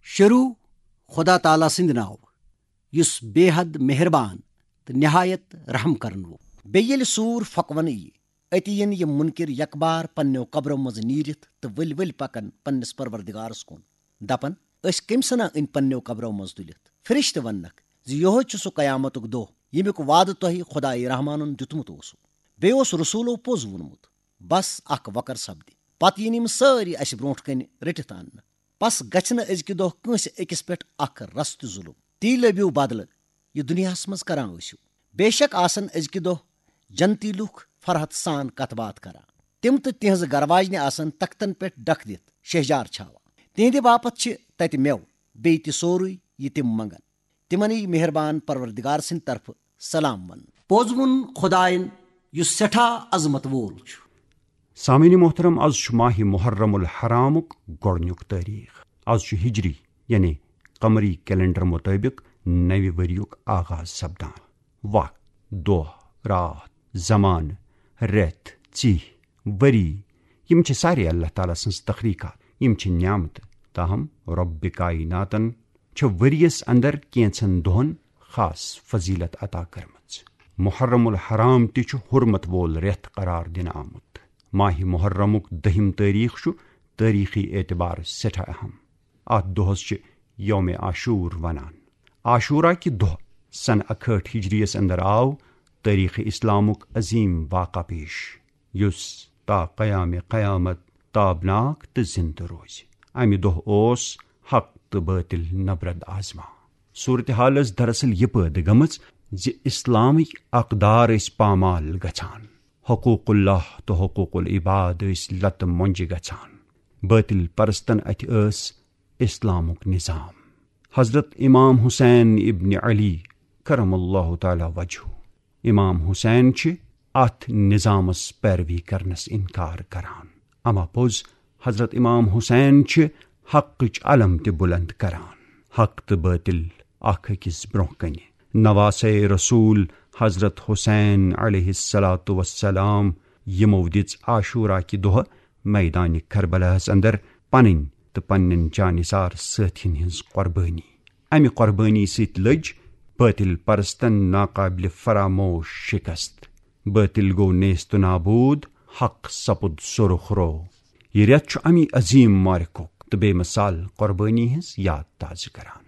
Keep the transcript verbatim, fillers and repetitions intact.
شروع خدا تعالیٰ سٕنٛدِ ناوٕ، یُس بے حد مہربان تہٕ نہایت رحم کرن وول۔ بیٚیہِ ییٚلہِ سوٗر پھۄکہٕ ونہٕ یِیہِ، أتی یِن یِم مُنکِر یکبار پننیو قبرو منٛزٕ نیٖرِتھ تہٕ ؤلۍ ؤلۍ پکن پننِس پروردگارس کُن، دپن، "أسۍ کٔمۍ سنا أنۍ پننیو قبرو منٛزٕ تُلِتھ؟" فرشتہٕ وننکھ زِ یِہوے چھُ سُہ قیامتُک دۄہ، ییٚمیُک وعدٕ تۄہہِ خدایہِ رحمانن دیُتمُت اوسُو۔ بیٚیہِ اوس رسوٗلو پوٚز ووٚنمُت۔ بس اکھ وۄکر سپدِ۔ پتہٕ یِن یِم سٲری اسہِ برونٛٹھ کنہِ رٔٹِتھ اننہٕ۔ پس گژھِ نہٕ أزکہِ دۄہ کٲنٛسہِ أکِس پٮ۪ٹھ اکھ رژھ تہِ ظُلُم۔ تی لٔبِو بدلہٕ، یہِ دُنیاہس منٛز کران ٲسِو۔ بے شک آسن أزکہِ دۄہ جنتی لُکھ فرحت سان کتھ باتھ کران۔ تِم تہٕ تِہنٛزٕ گرواجنہِ آسن تختن پٮ۪ٹھ ڈکھ دِتھ شہجار چھاوان۔ تِہنٛدِ باپتھ چھِ تتہِ مٮ۪وٕ، بیٚیہِ تہِ سورُے یہِ تِم منگن۔ تِمن یی مہربان پروردگار سٕنٛدِ طرفہٕ سلام وننہٕ۔ پوٚز ووٚن خداین، یُس سٮ۪ٹھاہ عظمت وول چھُ۔ سامعین محترم، از چھُ ماہِ محرم الحرامُک گۄڈٕنیُک تٲریخ۔ از چھُ ہجری، یعنی قمری کیلنڈر مطٲبق نوِ ؤریُک آغاز سپدان۔ وقت، دۄہ، راتھ، زمانہٕ، رٮ۪تھ، ژِہۍ، ؤری، یِم چھِ سارے اللہ تعالیٰ سٕنٛز تخلیقات، یِم چھِ نعمتہٕ۔ تاہم رب کائناتن چھِ ؤریَس اندر کینٛژن دۄہن خاص فضیلت عطا کٔرمٕژ۔ محرم الحرام تہِ چھُ حرمت وول رٮ۪تھ قرار دِنہٕ آمُت۔ ماہِ محرمُک دٔہِم تٲریخ چھُ تٲریخی اعتبار سٮ۪ٹھاہ اہم۔ اتھ دۄہس چھِ یوم عاشور ونان۔ عاشورہ کہِ دۄہ سنہٕ اکہٲٹھ ہجریَس اندر آو تٲریخ اسلامُک عظیم واقعہ پیش، یُس تا قیام قیامت تابناک تہٕ زندٕ روزِ۔ امہِ دۄہ اوس حق تہٕ باطل نبرد آزما۔ صورتحال ٲس دراصل یہِ پٲدٕ گٔمٕژ زِ اسلامٕکۍ اقدار ٲسۍ پامال گژھان، حقوق اللہ تہٕ حقوق العباد ٲسۍ لتہٕ مۄنجہِ گژھان۔ باطل پرستن اتھِ ٲس اسلامُک نظام۔ حضرت امام حسین ابن علی کرم اللہ تعالیٰ وجہہ، امام حسین چھِ اتھ نظامس پیروی کرنس انکار کران۔ اما پوٚز، حضرت امام حسین چھِ حقٕچ علم تہِ بلند کران۔ حق تہٕ باطل اکھ أکِس برونٛہہ کنہِ۔ نواسے رسول حضرت حسین علیہ الصلوۃ والسلام، یِمو دِژ عاشورہ کہِ دۄہ میدان کربلاہس اندر پنٕنۍ تہٕ پننٮ۪ن جانثار سٲتھین ہٕنٛز قربٲنی۔ امہِ قربٲنی سۭتۍ لٔج باطل پرستن ناقابل فراموش شکست۔ باطل گوٚو نیست و نابود، حق سپُد سرخ رو۔ یہِ رٮ۪تھ چھُ امی عظیم معرکُک تہٕ بے مثال قربٲنی ہٕنٛز یاد تازٕ کران۔